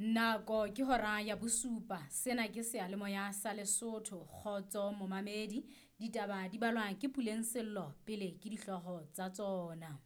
Nako ke hora ya bosupa. Sena ke seyalemoya sa Lesotho. Kgotso momamedi. Ditaba di balwa ke Puleng Sello pele ke dihlooho tsa tsona.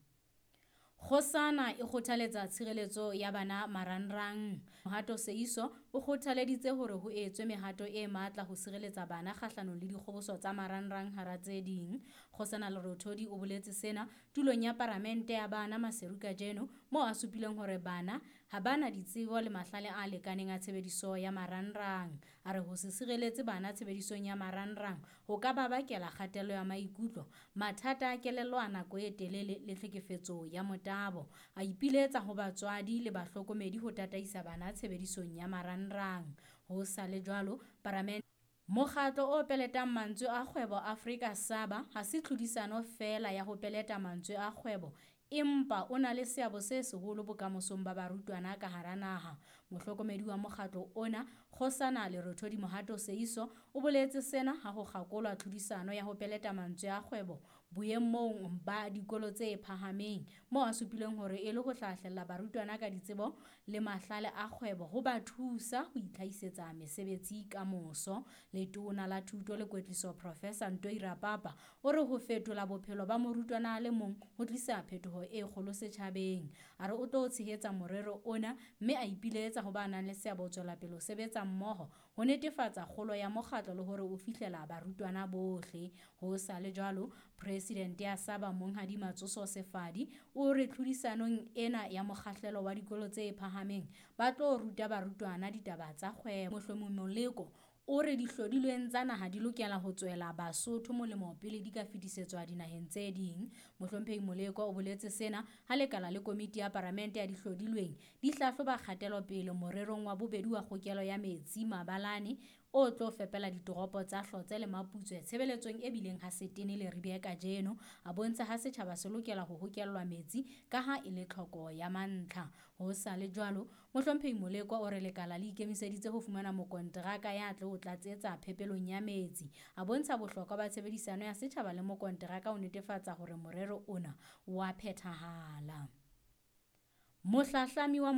Kgosana e kgothaletsa tshireletso ya bana marangrang. Mohato Seiso o kgothaleditse hore ho etswe mehato e matla ho sireletsa bana kgahlanong le dikgoboso tsa marangrang hara tse ding. Kgosana Lerothodi o boletse sena tulong ya paramente ya bana Maseru kajeno moo a supileng hore bana ha bana ditsebo le mahlale a lekaneng a tshebediso ya marangrang. A re ho se sireletse bana tshebedisong ya marangrang ho ka ba bakela kgatello ya maikutlo, mathata a kelello a nako e telele le tlhekefetso ya motabo. A ipiletsa ho batswadi le bahlokomedi ho tataisa bana tshebedisong ya marangrang. Ho sa le jwalo, paramente Mokgatlo o peletang mantswe a kgwebo Afrika Saba ha se tlhodisano feela ya ho peleta mantswe a kgwebo empa o na le seabo se seholo bokamosong ba barutwana ka hara naha. Mohlokomedi wa mokgatlo ona, Kgosana Lerothodi Mohato Seiso, o boletse sena ha ho kgakolwa tlhodisano ya ho peleta mantswe a kgwebo boemong ba dikolo tse phahameng, moo a supileng hore e le ho hlahlella barutwana ka ditsebo le mahlale a kgwebo ho ba thusa ho itlhahisetsa mesebetsi ka moso. Letona la Thuto le Kwetliso Professor Ntoi Rapapa o re ho fetola bophelo ba morutwana a le mong ho tlisa phetoho e kgolo setjhabeng. A re o tlo tshehetsa morero ona mme a ipiletsa ho ba nang le seabo ho tswela pele ho sebetsa mmoho ho netefatsa kgolo ya mokgatlo le hore o fihlela barutwana bohle. Ho sa le jwalo, Presidente ya Saba Monghadi Matsoso Sefadi o re tlhodisanong ena ya mokgahlelo wa dikolo tse phahameng ba tlo ruta barutwana ditaba tsa kgwebo. Mohlomong Moleko o re dihlodilweng tsa naha di lokela ho tswela Basotho molemo pele di ka fetisetswa dinaheng tse ding. Mohlomphehi Moleko o boletse sena ha lekala le komiti ya paramente ya dihlodilweng di hlahloba kgatelopele morerong wa bobedi wa kgokelo ya metsi Mabalane o tlo fepela ditoropo tsa Hlotse le Maputswe tshebeletsong e bileng ha setene Leribe kajeno. A bontsha ha setjhaba se lokela ho hokellwa metsi ka ha e le tlhoko ya mantlha. Ho sa le jwalo, Mohlomphehi Moleko o re lekala le ikemiseditse ho fumana mokonteraka ya tlo tlatsetsa phepelong ya metsi. A bontsha bohlokwa ba tshebedisano ya setjhaba le mokonteraka ho netefatsa hore morero ona wa phethahala. Mohlahlami wa